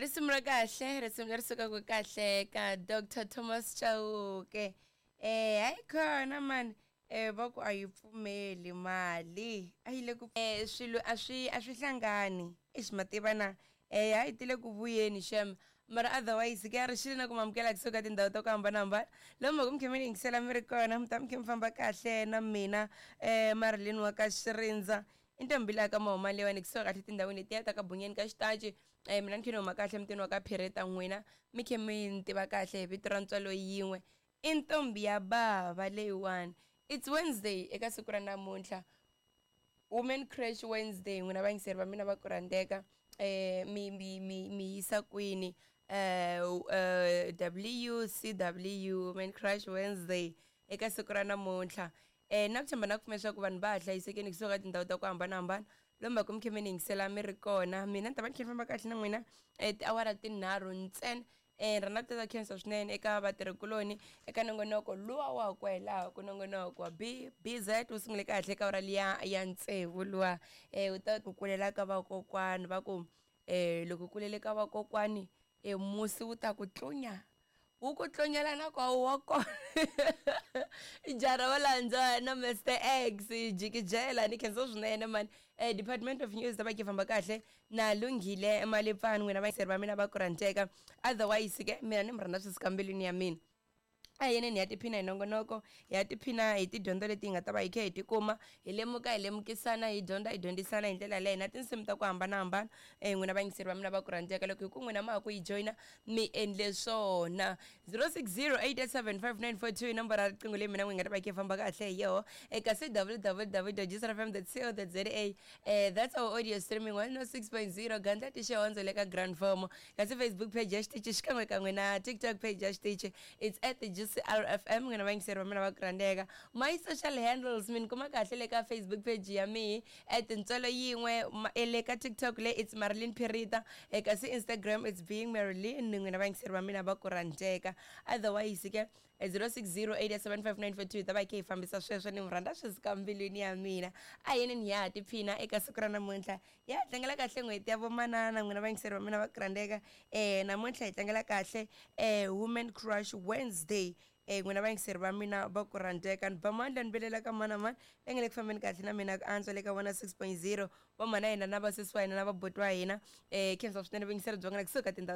Risimu ra kahle, risimu leri sukaka kahle ka Dr Thomas Chauke. Hayi khona mani, va ku a yi pfumeli mali a yi le ku swilo a swi hlangani. Ixi, ma tiva na a yi tile ku vuyeni xem, mara otherwise ke a ri xile na ku mamukela kusuka tindhawu ta ku hambanahambana lomu mhaka mi khe mi ni yingisela mi ri kona, mi ta mi khe mi famba kahle na mina Marilyn wa ka Xirindza, i ntombi laha ka mahuma leyiwani kusuka kahle tindhawini letiya ta ka Bunyeni ka Xitaci. Mina ni khe ni huma kahle mutini wa ka Phireta, n'wina mi khe mi ni tiva kahle hi vito ra ntswalo yin'we, i ntombi ya bava leyiwani. It's Wednesday eka siku ra namuntlha, Women Crash Wednesday. N'wina vayingiseri va mina va ku rhandzeka, mi yisa kwini WCW, Women Crash Wednesday eka siku ra namuntlha? Na ku tshemba na ku pfumela leswaku vanhu va ha hlayisekeni kusuka ka tindhawu ta ku hambanahambana lomu va ku mi khe mi ni yingisela mi ri kona. Mina ni ta va ni khe ni famba kahle na n'wina tiawara tinharhu ntsena. Rhandza ku tata khensa swinene eka vatirhikuloni eka nongonoko luwa wa ku helaha ku nongonoko wa BBZ wu sungule kahle ka awara liya ya tsevu luwa. Wu ta ku kulela ka vakokwani, va ku loko u kulele ka vakokwani musi wu ta ku tlunya, wu ku tlunyela na kwawu wa kona. Jara wa landza na Mr X jikijela, ni khensa swinene mani. Department of News ta va ki famba kahle na Lunghile Malipfani, n'wina vayingiseri va mina va ku rhandzeka. Otherwise ke mina ni mi rhandza swi suka mbilwini ya mina. A hi yeneni hi ya tiphina hi nongonoko, hi ya tiphina hi tidyondzo leti hi nga ta va hi kha hi tikuma, hi lemuka, hi lemukisana, hi dyondza, hi dyondzisana hi ndlela leyi na tinsimu ta ku hambanahambana. N'wina vayingiseri va mina va ku rhandzeka, loko hi ku n'wina ma ha ku yi joyina, mi endle swona. 0608875942 i nomboro ya riqingho leyi mina n'wi nga ta va hi kha hi famba kahle hi yoho. Kasi www.gcrfm.co.za, that's our audio streaming, 106.0 gandla tixihondzo le ka Grand Form. Kasi Facebook page ya xitichi xikan'we kan'we na TikTok page ya xitichi, it's @GCRFM. N'wina vayingiseri va mina va ku rhandzeka, my social handles mi ni kuma kahle le ka Facebook page ya mihi @ntswalo yin'we, le ka TikTok le it's Marilyn Pirita, kasi Instagram it's Being Marilyn. N'wina vayingiseri va mina va ku rhandzeka, otherwise ke 0608755942 ta va hi kha hi fambisa sweswo. Ni mi rhandza sweswi ka mbilwini ya mina. A yeneni hi ya ha tiphina eka siku ra namuntlha, hi ya tlangela kahle n'hweti ya vomanana. N'wina vayingiseri va mina va ku rhandzeka, namuntlha hi tlangela kahle Women Crush Wednesday. N'wina vayingiseri va mina va ku rhandzeka, ni ba mandla ni vilela ka mani na mani leyi nga le ku fambeni kahle na mina ku antswa le ka 106.0, va mhana hina na vasesi wa hina na vabuti wa hina. Khensa swinene vuyingiseri bya n'wina kusuka tindhawu.